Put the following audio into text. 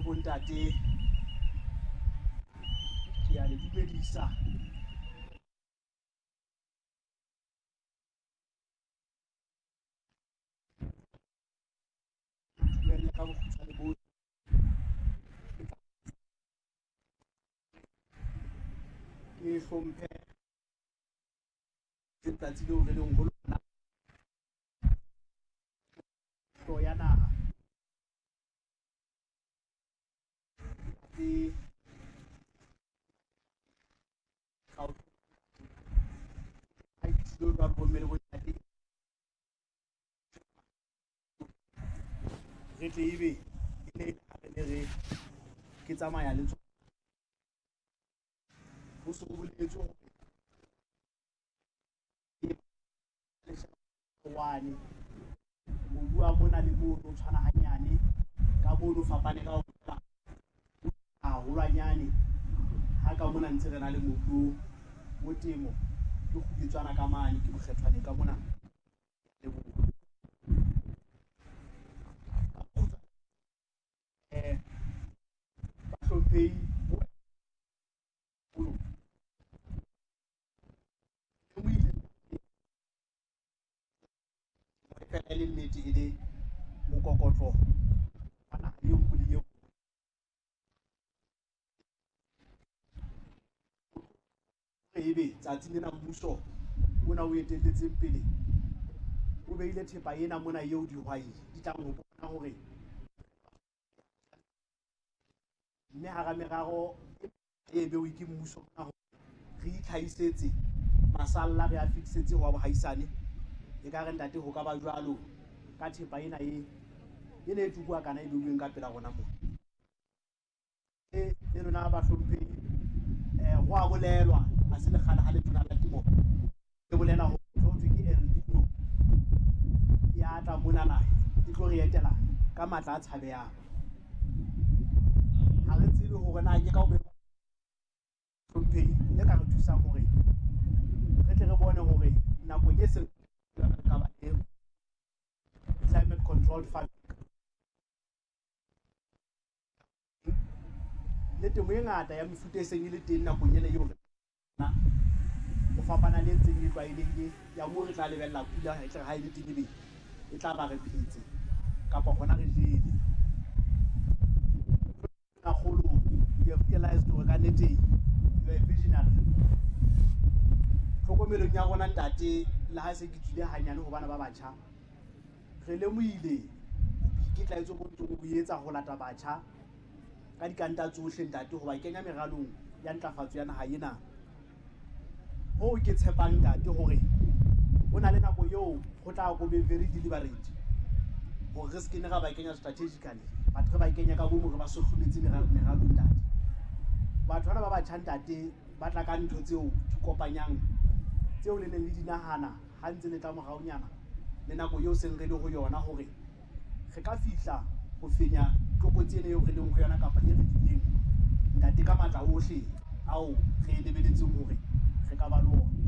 Bontate, ke a le dumedisa. Dumelle ka bokgutshwane bo ke hlomphe letsatsi leo re leng ho lona, hlo ya naha tse ha e fihlile jwalo bomme le bontate, re tle ebe e ne re ne re ke tsamaya le tsona. Ho se ho boletswe hore one mobu wa mona le mono o tshwana hanyane ka mono, fapane ka haholwanyane. Ha ka mona ntse re na le mobu o temo ke kgubetswana ka mane, ke bokgethwane ka mona le bahlomphehi. Fela e le nnete, e le mokokotlo wa naha e nngwe le e nngwe. Ebe tsatsing lena mmuso ona o etelletseng pele o beile thepa ena mona eo dihwai di tlang ho bona hore mme hara merero e bewe ke mmuso mona hore re itlhahisetse masalla, re a fetisetse ho wa bohaisane. E ka re ntate ho ka ba jwalo ka thepa ena e ena e tukuwa kana e beuweng ka pela rona mona. E lona bahlomphehi, ho a bolelwa ha se lekgale ha letona la temo e bolela hore ho thwe ke El Nino ya tla monana, e tlo re etela ka matla a tshabehang. Ha re tsebe hore na ke ka ho hlomphehi le ka re thusang hore re tle re bone hore nakong e seng ka ba le climate controlled farming le temo e ngata ya mefuta e seng e le teng nakong ena eo rena, ho fapana le e ntseng e tlwaelehile ya moo re tla lebella pula e tle re ha e le teng ebe e tla ba re phetse kapa hona re jele. Kgolo, we have realized hore ka nnete you are a visionary. Tlhokomelong ya rona ntate, le ha se ke tswile hanyane ho bana ba batjha, re lemohile boikitlaetso bo ntseng bo etsa ho lata batjha ka dikanta tsohle ntate, ho ba kenya meralong ya ntlafatso ya naha ena. Hoo ke tshepang ntate hore ho na le nako eo ho tla ko be very deliberate hore re se ke ne ra ba kenya strategically, but re ba kenya ka bomo, re ba sohlometse meralong ntate. Batho bana ba batjha ntate ba tla ka ntho tseo di kopanyang tseo le neng le di nahana ha ntse le tla moraonyana le nako eo seng re le ho yona, hore re ka fihla ho fenya tlokotsi ena eo re leng ho yona kapa e re dileng ntate ka matla ohle ao re e lebeletseng hore re ka ba le ona.